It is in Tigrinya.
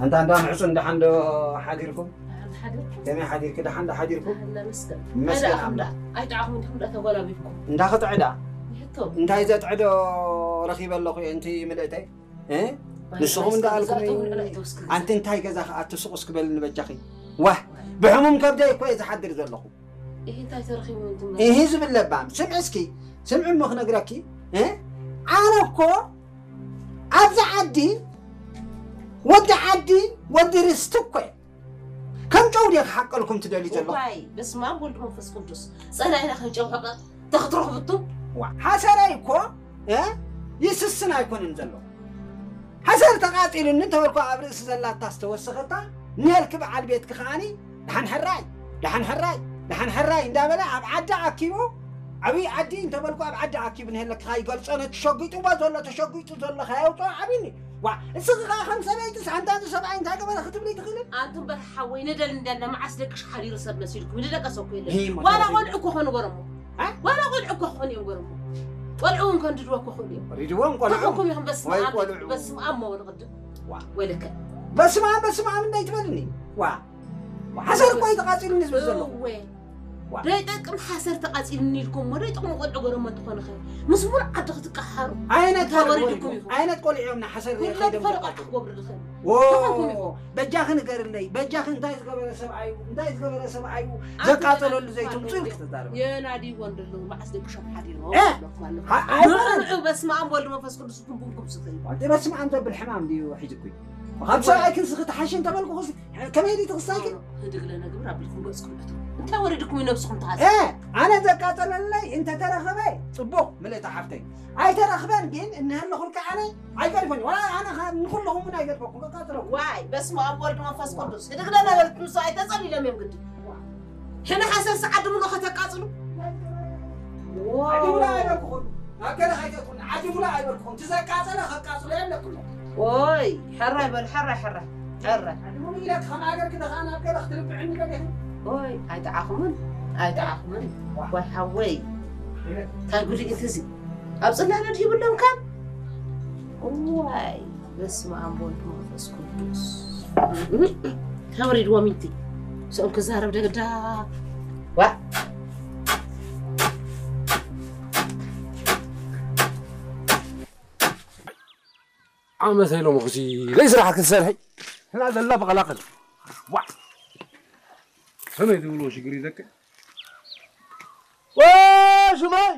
ኣንታ እንዳ ምዕፁ እንዳሓን ዶ ሓዲርኩም? ከመይ ሓዲርኪ? ደሓን ዶ ሓዲርኩም? መስገን ኣምላኽ። ኣይጠዓኹም እንዲኹም ዳ ተጎላቢብኩም። እንዳ ክትዕዳ? እንታይ ዘጥዕዶ ረኺበ ኣለኹ እንቲ ምልእተይ? ንስኹም እንዳኣልኩም ኣንቲ እንታይ ገዛ ከኣ ትስቑስ ክበልኒ በጃኺ። ዋህ፣ ብሕሙም ከብደይ እኮ እየ ዝሓድር ዘለኹ። ይህ እንታይ ተረኺቡ? ይህ ዝብል ለባም ስምዒ እስኪ፣ ስምዒ እሞ ክነግረኪ። ኣነ እኮ ኣብዚ ዓዲ ወዲ ዓዲ፣ ወዲ ርስቲ እኮ እየ። ከም ጨው ድየ ክሓቀልኩም ትደልዩ ዘለኹ? ዋይ፣ በስመ ኣብ ወልድ መንፈስ ቅዱስ። ጸላኢና ከም ጨው ሕቐ ተኽትረኽብቱ። ሓሰረይ እኮ ይስስን ኣይኮነን ዘሎ። ሓሰር ተቓጺሉኒ እንተበልኩ ኣብ ርእሲ ዘላታ ዝተወሰኸታ ኔልኪ በዓል ቤትኪ ከዓኒ ደሓን ሕራይ፣ ደሓን ሕራይ፣ ደሓን ሕራይ እንዳበለ ኣብ ዓዲ ኣኪቡ፣ ዓብዪ ዓዲ እንተበልኩ ኣብ ዓዲ ኣኪቡ ንሄለኪ ካይገልጾ ነቲ ሸጒጥዎ ዘሎ ተሸጒጡ ዘሎ ካየውፅኦ ዓብኒ። ዋ፣ እስኺ ኸዓ ከም ሰበይትስ ኣንታ እዚ ሰብኣይ እንታይ ገበረ ክትብሊ ትኽእልን? ኣንቱም በል ሓወይ ነደል እንዳለ መዓስ ደቅሽ ሓዲሩ ሰብ መሲልኩም ንደቀሰ እኮ የለን። ዋላ ቆልዑ እኮ ኾኑ ገረሞ። ዋላ ቆልዑ እኮ ኾኑ እዮም ገረሞ። ቆልዑ እውን ከንድድዎ እኮ ኾኑ እዮም። ሪድዎም ቆልዑ። ተኾንኩም ኢኹም በስመ ወይ ኣብ ቆልዑ። በስመ ኣብ መወል ቅድም። ዋ። ወለከ። በስመ ኣብ በስመ ኣብ እንዳይትበልኒ። ዋ። ሓሰር እኮ እዩ ተቓጺሉኒ ዝብል ዘለኹ። እወ። ዋ። ደይጠቅም ሓሰር ተቓጺሉኒ ኢልኩም እሞ ደይጠቕሙ ቆልዑ ገረሞ እንትኾኑ ኸ ምስ ሙሉእ ዓዲ ክትቀሓሩ። ዓይነት እንታይ ቆልዑ ወሪድኩም እዮም? ኢኹም? ዓይነት ቆልዑ እዮም ንሓሰር ኩሎም ከይዶም ፈረቓ ተቃጥሉ? ክገብሩ ድኽእል? ዎ። ተኾንኩም ኢኹም? በጃኺ ንገርለይ፣ በጃኺ እንታይ ዝገበረ ሰብኣይ እዩ? እንታይ ዝገበረ ሰብኣይ እዩ? ኣንተ ዘቃጸለሉ ደኣ ዘይትምጹ ኢልኪ ትዛረቢ። የናድይዎ እንደለዉ መዓስ ደቂ ሸም ሓዲሮም እ? ኣለኩም ኣለኩም። ኣ-፣ ኣይኮነን። ንዑ በስመ ኣብ ወልድ መንፈስ ቅዱስ ትንቡንኩም ስኽሪ። ኣንተ በስመ ኣብ ዘብል ሕማም ድዩ ሒዙኩ? ካብ ሰብኣይ ክንስኺ ተሓሺ እንተበልኩ ኸዚ ከመይ ድዩ ትኽሳይኪ? ህድግ ለነግብር ኣቢልኩም ገጽኩም እቱ። እንታይ ወሪድኩም እዩ ነብስኹም ተሓዝ? እ፣ ኣነ ዘቃጸለለይ እንተተረኸበ ጽቡቕ ምልእቲ ሓፍተይ። ኣይተረኽበን ግን እንሀለኹልካ ኣነ ኣይገድፎን። ዋላ ኣነ ኸ ንኹልኹም እውን ኣይገድፈኩም፣ ከቃጽለኩም። ዋይ፣ በስመ ኣብ ወልድ መንፈስ ቅዱስ። ህድግ ለነበልኩም ሰው ኣይተጸሊሎም እዮም ግዲ። ሕነ ሓሰር ሰዓት ድምሎ ከተቃጽሉ? ዓዲ ሙላ ኣይበልኩኹም። ኣብ ገለ ከይተትኩን ዓዲ ሙላ ኣይበልኩኹም። ትዘቃጸለ ከቃጽሎ የለኩሞ። ኦይ፣ ሕራይ በል፣ ሕራይ፣ ሕራይ፣ ሕራይ። ዓዲ ሙሉ ኢለ ከም ሃገር ክደኻ ናብ ገለ ክትርብዕኒ ገለ ኢኹም። ኦይ፣ ኣይጠዓኹምን፣ ኣይጠዓኹምን። ዋይ ሓወይ፣ እንታይ ጉድ እዩ እዚ? ኣብ ጽላለ ድዩ ይብሎም ካን? ዋይ፣ በስመ ኣብ ወልድ መንፈስ ቅዱስ። ተወሪድዎም ኢንቲ። ምስኦም ክዛረብ ደግዳ። ዋ። ዓመት ኢሎም ኹሲ ለይ ስራሕ ክትሰርሒ። ሕና ዘላ ብቐላቕል። ዋ። ከመይ ትብልዎ ሽግር እዩ ዘከ? ዋ፣ ሽማይ!